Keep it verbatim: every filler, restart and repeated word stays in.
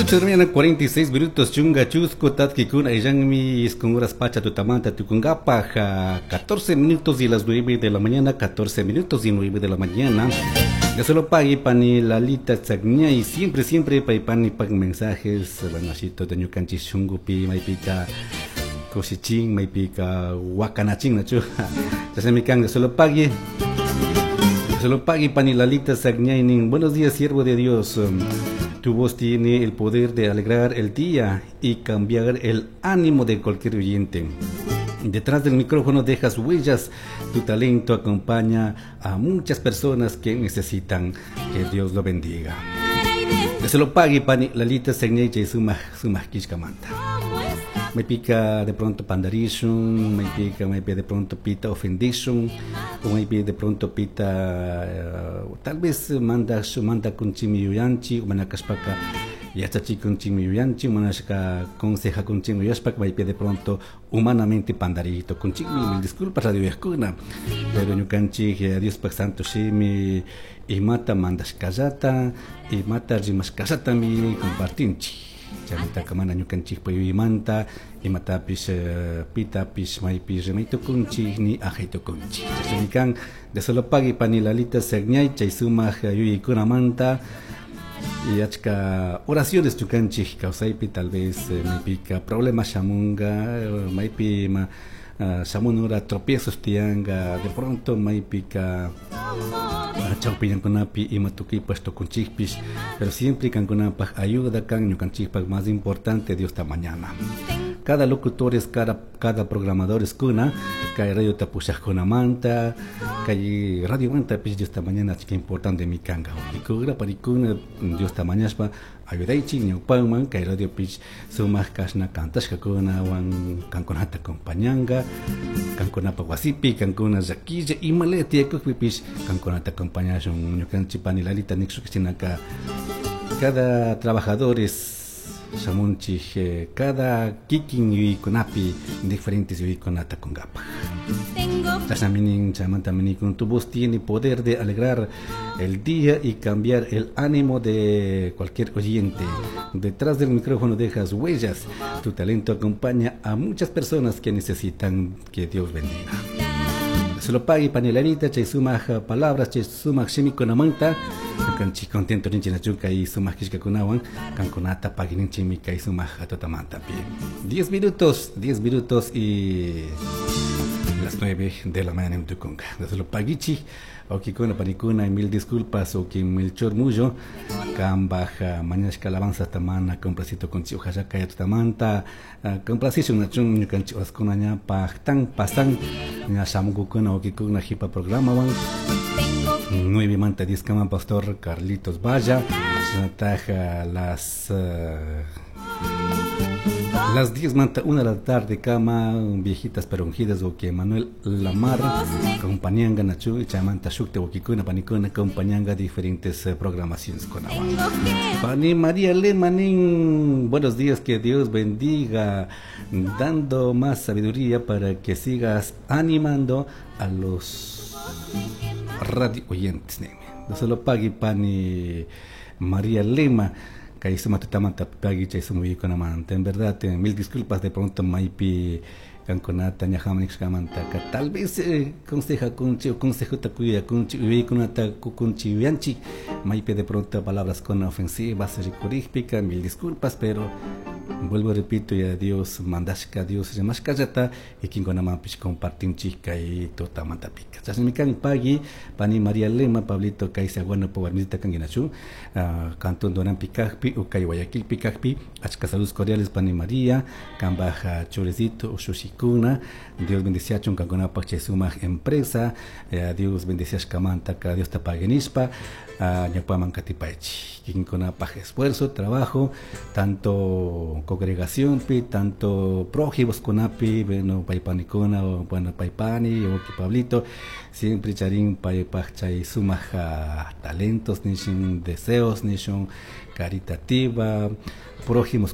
ocho de la mañana, cuarenta y seis minutos, chunga chusco, tatkikuna, illanmi, isqun horas pacha tutamanta tukunkapaj, catorce minutos y las nueve de la mañana, catorce minutos y nueve de la mañana. Ya solo pague pani Lalita y siempre, siempre pani pag mensajes, bueno, así todo ñukanchik shungupi, maypika, kushichin, maypika, wakanachin, nachu. Ya se me can, solo pague. Solo pague pani Lalita Sagñay. Buenos días, siervo de Dios. Tu voz tiene el poder de alegrar el día y cambiar el ánimo de cualquier oyente. Detrás del micrófono dejas huellas. Tu talento acompaña a muchas personas que necesitan que Dios lo bendiga. Que se lo pague pani Lalita Sagñay sumaj sumaj kishkamanta. Me pica de pronto pandarishun, me pica, me pica de pronto pita ofendishun, o me pica de pronto pita, uh, tal vez manda, manda con chimi yuyanchi, o manakashpaka yachachi con chimi yuyanchi, manashka conseja con chimi yuyashpaka, me pica de pronto humanamente pandarito con chimi, mil disculpas radio yajkuna, pero ñukanchik Dios pak santo shimi, imata mandashkallata, imata rimashkallata mi compartinchik. Chaymantaka mana ñukanchikpa yuyaymanta imatapish uh, pitapish maypish rimaytukunchik ni ajaytukunchik. Chashnami kan de solo pagui pani Lalita Sagñay chay sumak yuyaykunamanta y achka oraciones ñukanchik kawsaypi tal vez eh, maypika problemas shamunga, maypi ma uh, shamunura tropiezos tiyanga, de pronto maypika chawpiñankunapi ima tukuypash tukunchikpish, pero siempre kankunapaj ayuda kan ñukanchikpaj más importante Dios ta mañana. Cada locutor es cada, cada programador es kuna, kay radio tapushajkunamanta, kay radio manta pish Dios ta mañana achka importante mi kanga. Ikura parikuna Dios ta mañashpa ayudaychik ñawpanman kay radio pish sumaq kashna kantashkakuna wan kankunata acompañanga, kankunapa wasipi, kankuna llakilla imale tiyakukpi pish kankunata acompañashun ñukanchik pani Lalita nikshukshinaka cada trabajador es shamunchik eh, cada kikin yuyaykunapi diferentes yuyaykunata kunkapaj. Chashnaminin chaymanta con tu voz tiene poder de alegrar el día y cambiar el ánimo de cualquier oyente. Detrás del micrófono dejas huellas. Tu talento acompaña a muchas personas que necesitan que Dios bendiga. Se lo pague pani Lalita, chay sumak palabras, chay sumak shimikunamanta. Ñukanchik contento rinchik nachu kay sumak kishkakunawan, kankunata pagininchikmi kay sumak tutamantapi. Diez minutos, diez minutos y las nueve de la mañana en Tucunga. Desde lo paguichi, okikuna panikuna, mil disculpas, oki Melchor Mullo, kambaja, mañashka alabanza tamana, complacito con chi, ojalá kaya tutamanta, complacicio nachun, ñukanchi oskuna ña, pajtan, pasan, ña shamukukuna, okikuna, jipa programa, wan. Nueve manta diez kama, pastor Carlitos Valla, taja las... Uh, las diez manta una de la tarde cama viejitas pero ungidas o que Manuel Lamar acompañanga nachu chamanta shukte okikuna panikuna acompañanga diferentes eh, programaciones con agua. Pani María Lemanín, buenos días, que Dios bendiga, dando más sabiduría para que sigas animando a los radio oyentes. No solo pague pani María Lema. Kay suma tutamanta pagi chay sumuykunamanta. En verdad, eh, mil disculpas de pronto maypi kankunata ñajamanishkamanta ka tal vez eh, conseja kunchi o consejota kuyakunchi uyaykunata kukunchi yuyanchik maypi de pronto palabras con ofensivas rikurikpika, mil disculpas, pero vuelvo repito ya Dios mandashka Dios rimashkallata y kinkunamanpish compartinchik kay tutamantapika. Chashnami kan pagui pani María Lema Pablito kay saguano po warmisita kankinachu uh, cantón Doranpi kajpi o kay Guayaquilpi kajpi achka saludos cordiales pani María kambaja churecito ushushikuna Dios bendiciachun kankunapaj chay sumak empresa eh, Dios bendiciashkamanta ka Dios ta paguenishpa uh, ñawpaman katipaychik kinkunapaj esfuerzo trabajo tanto congregacionpi tanto prójimos kunapi bueno paypanikuna o bueno paypani o Pablito siempre charin paypaj chay sumak uh, talentos nishun deseos nishun caritativa prójimos